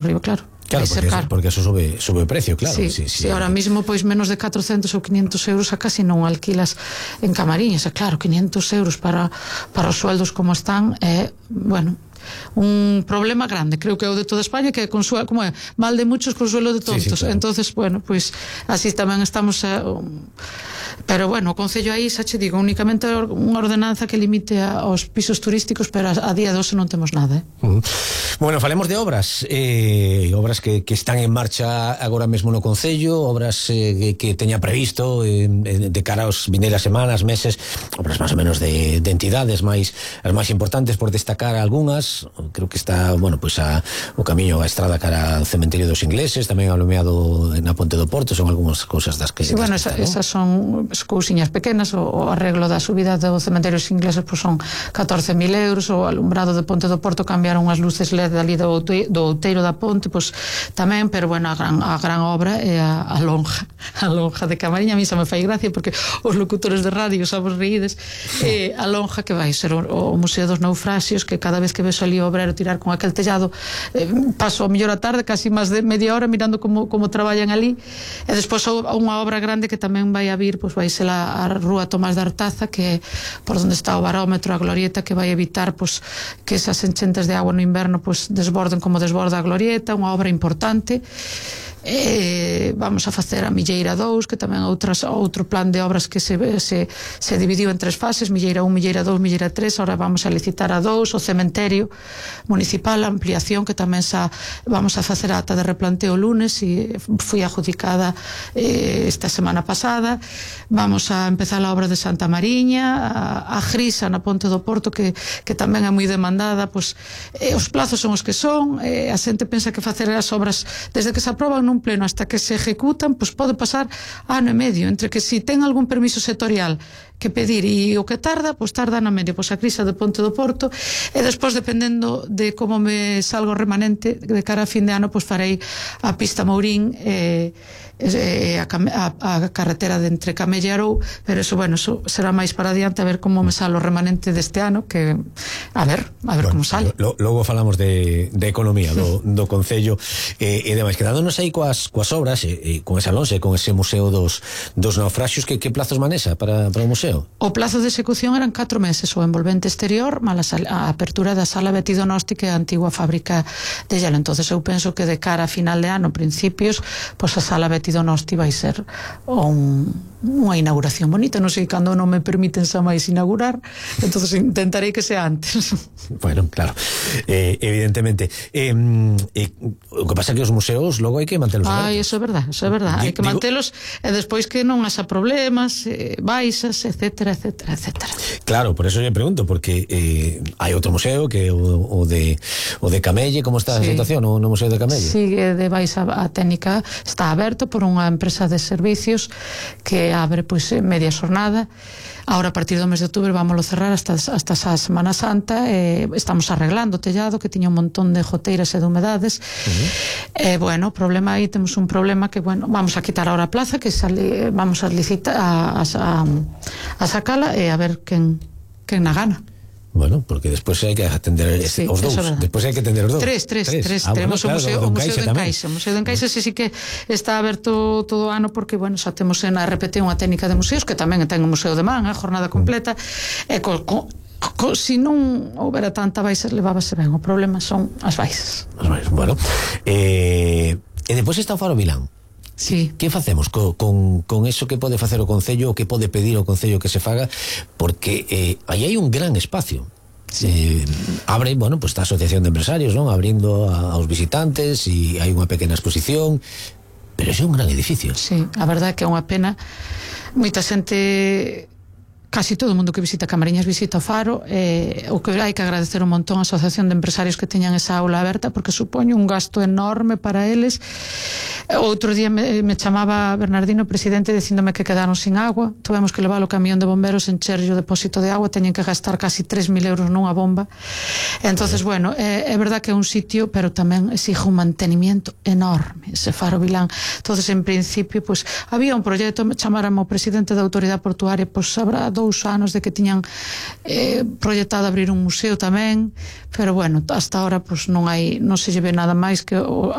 arriba, claro. Claro, porque eso sube o precio, claro. Sí, ahora mismo pois menos de 400 ou 500 euros a casi non alquilas en Camariñas, e claro, 500 euros para os sueldos como están, bueno, un problema grande, creo que é o de toda España, que é consuelo, como é, mal de muchos, consuelo de tontos. Claro. Entonces, bueno, pois así tamén estamos pero bueno, o Concello aí, xa che digo, únicamente unha ordenanza que limite aos pisos turísticos, pero a día de hoxe non temos nada. Bueno, falemos de obras obras que están en marcha agora mesmo no Concello, obras que teña previsto de cara aos vindeiras semanas, meses, obras máis ou menos de entidades as máis importantes, por destacar algunhas. Creo que está, bueno, pois o camiño, a estrada cara ao cementerio dos ingleses, tamén alumeado na Ponte do Porto, son algunhas cousas das que... Sí, bueno, esas son cousiñas pequenas. O arreglo da subida do cementerio dos ingleses pois son 14.000 euros, o alumbrado de Ponte do Porto, cambiaron as luces LED ali do outeiro da ponte, pois tamén, pero bueno, a gran obra é a lonja de Camariña. A mí xa me fai gracia porque os locutores de radio somos reídes, a lonja que vai ser o Museo dos Naufraxios, que cada vez que ves ali o obrero tirar con aquel tellado, paso a mellor a tarde casi máis de media hora mirando como traballan ali. E despois unha obra grande que tamén vai a vir, pois vai ser a rúa Tomás de Artaza, que é por onde está o barómetro, a glorieta, que vai evitar pois que esas enchentes de agua no inverno pois desborden como desborda a glorieta. Unha obra importante. Vamos a facer a Milleira 2, que tamén é outro plan de obras que se dividiu en 3 fases: Milleira 1, Milleira 2, Milleira 3. Ahora vamos a licitar a 2, o cementerio municipal, a ampliación, que tamén vamos a facer a ata de replanteo lunes, e foi adjudicada esta semana pasada. Vamos a empezar a obra de Santa Mariña, a Grisa na Ponte do Porto, que tamén é moi demandada. Pois os plazos son os que son, a xente pensa que facer as obras desde que se aproban nun pleno hasta que se ejecutan, pois pode pasar ano e medio, entre que si ten algún permiso sectorial que pedir e o que tarda, pois tarda ano e medio. Pois a Grisa de Ponte do Porto, e despois, dependendo de como me salga o remanente de cara a fin de ano, pois farei a pista Mourín, a carretera de entre Camelle e Arou, pero eso, bueno, eso será máis para adiante, a ver como me sale o remanente deste ano, que a ver bueno, como sale. Logo falamos de economía do Concello e demais. Quedándonos aí coas obras, con esa lonxe, con ese Museo dos Naufraxios, que plazos manexa para o museo? O plazo de execución eran 4 meses, o envolvente exterior, mal a apertura da sala Betty Donosti, que é a antigua fábrica de hielo. Entonces eu penso que de cara a final de ano, principios, pois a sala Betty Donosti vai ser unha inauguración bonita. Non sei cando non me permiten xa máis inaugurar, entonces intentarei que sea antes. Bueno, claro, evidentemente. O que pasa é que os museos logo hai que mantelos abertos. Eso é verdad, hai que mantelos, e despois que non haxa problemas, baixas, etcétera. Claro, por eso lle pregunto, porque hai outro museo que é o de Camelle. Como está a situación no Museo de Camelle? Sigue de baixa a técnica, está aberto por unha empresa de servicios que abre pois media xornada. Ahora, a partir do mes de outubro, vámoslo cerrar hasta a Semana Santa. Estamos arreglando o tellado, que tiña un montón de goteiras e de humedades. Bueno, o problema aí, temos un problema que, bueno, vamos a quitar ahora a plaza, que vamos a licitar a sacala, e a ver quen na gana. Bueno, porque despois hai que atender os dous. Despois hai que atender os dous. Tres. Temos o Museo de Encaixe. O Museo de Encaixe sí que está aberto todo o ano, porque, bueno, xa temos na RPT unha técnica de museos, que tamén ten o Museo de Man, a jornada completa, e se non houbera tanta baixa, levábase ben. O problema son as baixas. Bueno, e depois está o Faro Vilán. Sí. Que facemos con eso que pode facer o Concello, o que pode pedir o Concello que se faga? Porque aí hai un gran espacio. Abre, bueno, pues está a Asociación de Empresarios, non? Abrindo aos visitantes, e hai unha pequena exposición, pero é un gran edificio. Sí, a verdade é que é unha pena. Moita xente, casi todo o mundo que visita Camariñas visita o Faro. O que hai que agradecer un montón a Asociación de Empresarios que teñan esa aula aberta, porque supone un gasto enorme para eles. Outro día me chamaba Bernardino, presidente, dicíndome que quedaron sin agua. Tuvemos que levar o camión de bomberos, encherlle o depósito de agua, teñen que gastar casi 3.000 euros nunha bomba. Entonces, bueno, é verdad que é un sitio, pero tamén exige un mantenimiento enorme ese Faro Vilán. Entonces, en principio, pues había un proxecto, chamáramos o presidente da autoridade portuaria, pues habrá 2 anos de que tiñan proyectado abrir un museo tamén, pero bueno, hasta ahora pues non se lle ve nada máis que